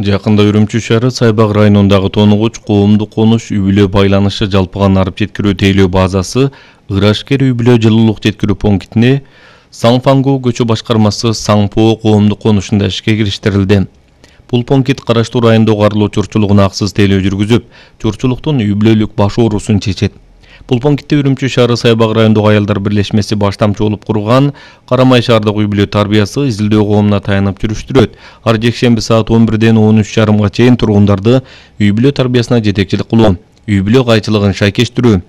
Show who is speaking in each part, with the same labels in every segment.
Speaker 1: Жакында Үрүмчү шаары Сайбак районундагы тонугуч коомдук конуш үй-бүлө байланышы жалпыган арып жеткирүү тейлөө базасы Ырашкер үй-бүлө жылуулук жеткирүү пунктине Саңфангу көчө башкармасы Саңпоо коомдук конушунда ишке кириштирилди. Бул пункт караштуу райондогу арлуу чурчулугуна аксыз тейлөө жүргүзүп, чурчулуктун үй-бүлөлүк баш оорусун чечет. Бул пунктте Үрүмчү шаары Сайбак райондогу аялдар бирлешмеси баштамчы болуп курган Карамай шаардык үй-бүлө тарбиясы изилдөө коомуна таянып жүрүштүрөт. Ар жекшемби саат 11-ден 13:30 чейин тургундарды үй-бүлө тарбиясына жетекчилик кылуу, үй-бүлө кайчылыгын шайкештирүү,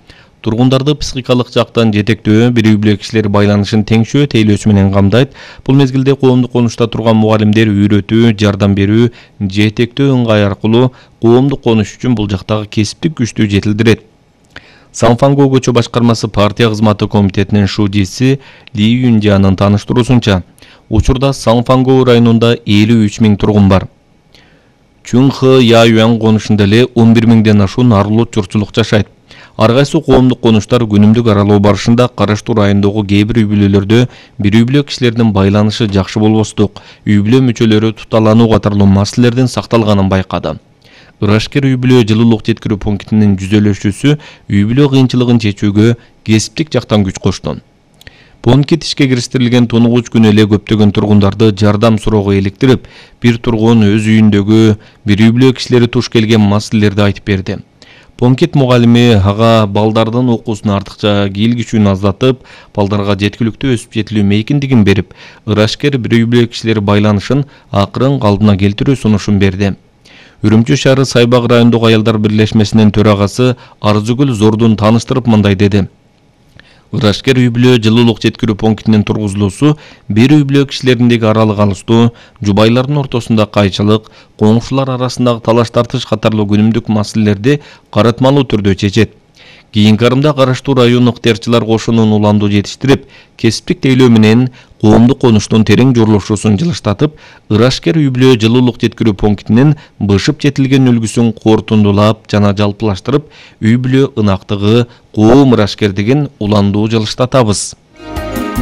Speaker 1: тургундарды психикалык жактан жетектөө, бир үй-бүлө кишилер байланышын теңшөө тейлөөсү менен камдайт. Бул мезгилде коомдук конушта турган мугалимдер үйрөтүү, жардам берүү, жетектөө ыңгай аркылуу коомдук конуш үчүн бул жактагы кесиптик күчтү жетилдирет. Саңфангу көчө башкармасы партия кызматы комитетинин шудиси Ли Юнжанын тааныштыруусунча, учурда Саңфангу районунда 53 000 тургун бар. Чүнхэ Яюан конушунда эле 11 000ден ашуун арлуу чурчулук жашайт. Ар кайсы коомдук конуштар күнүмдүк аралоо барышында караштуу райондогу кээ бир үй-бүлөлөрдө бир үй-бүлө кишилердин байланышы жакшы болбостук, үй-бүлө мүчөлөрү туталануу катарлуу маселелердин сакталганын байкады. Ырашкер үй-бүлө жылуулук жеткирүү пунктинин жүзөлөшүүсү үй-бүлө кыйынчылыгын чечүүгө кесиптик жактан күч кошту. Пункт ишке кириштирилген тонугуч күнү эле көптөгөн тургундарды жардам суроого иликтирип, бир тургун өз үйүндөгү бир үй-бүлө кишилери туш келген маселелерди айтып берди. Пункт мугалими ага балдардын окуусун артыкча кийлигишүүнү аздатып, балдарга жеткиликтүү өсүп жетилүү мейкиндигин берип, Ырашкер бир үй-бүлө кишилери байланышын акырын калдына келтирүү сунушун берди. Үрүмчү шаары Сайбак райондогу аялдар бирлешмесинин төрагасы Арзыгүл Зордун тааныштырып мындай деди. Ырашкер үй-бүлө жылуулук жеткирүү пунктинин тургузулуусу бир үй-бүлө кишилериндеги аралык алыштуу, жубайлардын ортосунда кайчылык, коңшулар арасындагы талаш тартыш катарлуу күнүмдүк маселелерди каратмалуу түрдө чечет. Кийинки арымда караштуу район ыктыярчылар кошунун уланду жетиштирип, кесиптик тейлөө менен коомдук конуштун терең жорлошуусун жылыштатып, Ырашкер үй-бүлө жылуулук жеткирүү пунктинин бышып жетилген үлгүсүн кортундулап жана жалпылаштырып, үй-бүлө ынактыгы коом Ырашкер деген уландуу жылыштатабыз.